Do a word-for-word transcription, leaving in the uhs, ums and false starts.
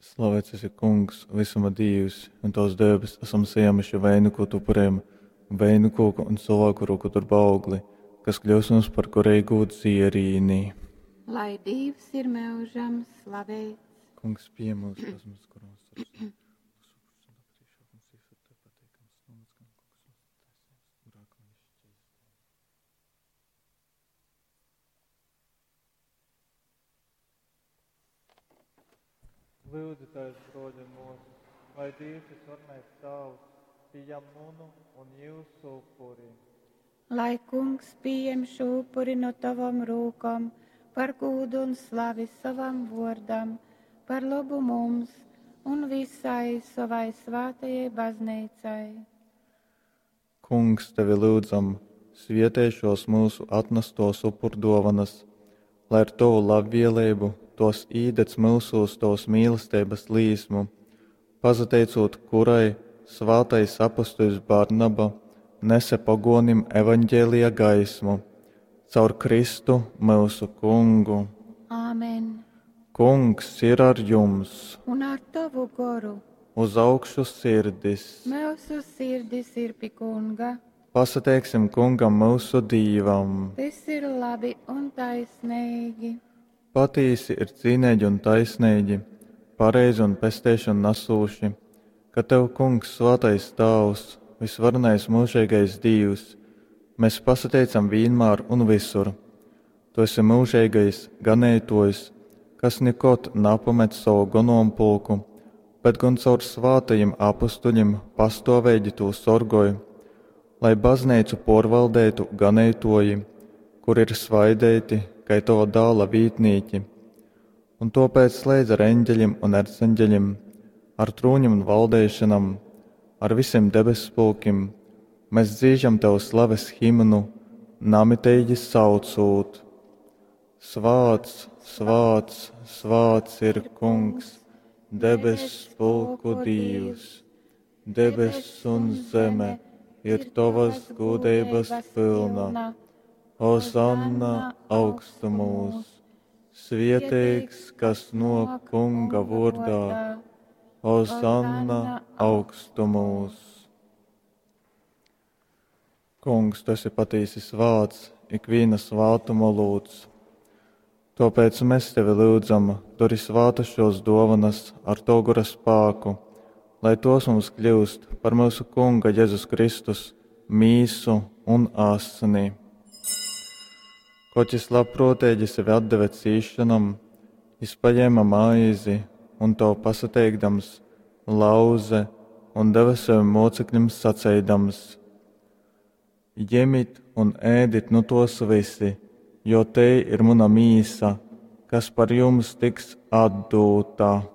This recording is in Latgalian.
Slavēts esi, Kungs, visuma Dīvs, un Tavs dēbes esam sajēmuši vaiņukotu upuriem, vaiņukoku un cilvēku roku darba augli, kas kļūs mums par garīgu dzierīni. Lai Dīvs ir mūžam slavēts. Kungs, pie mūsu pazemības koronas. Lūdzieties, broļi un mūsas, lai Dievs visvarenais Tēvs pieņem manu un jūsu upuri. Lai Kungs pieņem šo upuri no tavam rūkom, par gūdu un slavi savam vārdam, par labu mums un visai savai svētajai baznīcai. Kungs, tevi lūdzam, svietē šos mūsu atnestos upurdovanas, lai ar tavu labvēlību tos īdedz mūsos tavas mīlestības līsmu, pasateicot kurai svātais apustuļs Barnaba nese pagonim evaņģēlija gaismu, caur Kristu mūsu kungu. Āmen. Kungs ir ar jums, Un ar tavu goru uz augšu sirdis. mūsu sirdis ir pie Kunga. Pasateiksim kungam mūsu Dīvam. Tas ir labi un taisnīgi. Patīsi ir cīnīgi un taisnīgi, pareizi un pesteišanu nesūši, ka tev, Kungs, svētais Tēvs, visvarenais mūžīgais Dievs, mēs pasateicam vienmēr un visur. Tu esi mūžīgais ganētojs, kas nekad nepamet savu gonompulku, bet gan caur svātajiem apustuļiem pastāvīgi to sorgoj, lai baznīcu porvaldētu ganētoji, kur ir svaidēti, kai tava dāla vītnīki. Un tāpēc slēdz ar eņģeļiem un erceņģeļiem, ar trūņiem un valdēšanam, ar visiem debespulkim, mēs dzīžam tev slaves himnu, namiteigi saucūt. Svāts, svāts, svāts ir Kungs, debes pulku Dievs. Debes un zeme ir tavas gudrības pilna. Hozanna augstumos, svietīgs, kas no Kunga vārdā. Hozanna augstumos. Kungs, tu esi patīsi svāts, ikviena svātuma lūdz. Tāpēc mēs tevi lūdzam, dori svātas šos dovanas ar tavu gara spēku, lai tos mums kļūst par mūsu Kunga Jēzus Kristus mīsu un asini. Koč jis labprātīgi sevi atdeva cīšanam, jis paņēma maizi un to pasateikdams, lauze un deva saviem mocekļiem saceidams: Ņemiet un ēdit nu tos visi, jo te ir mana mīsa, kas par jums tiks atdūta.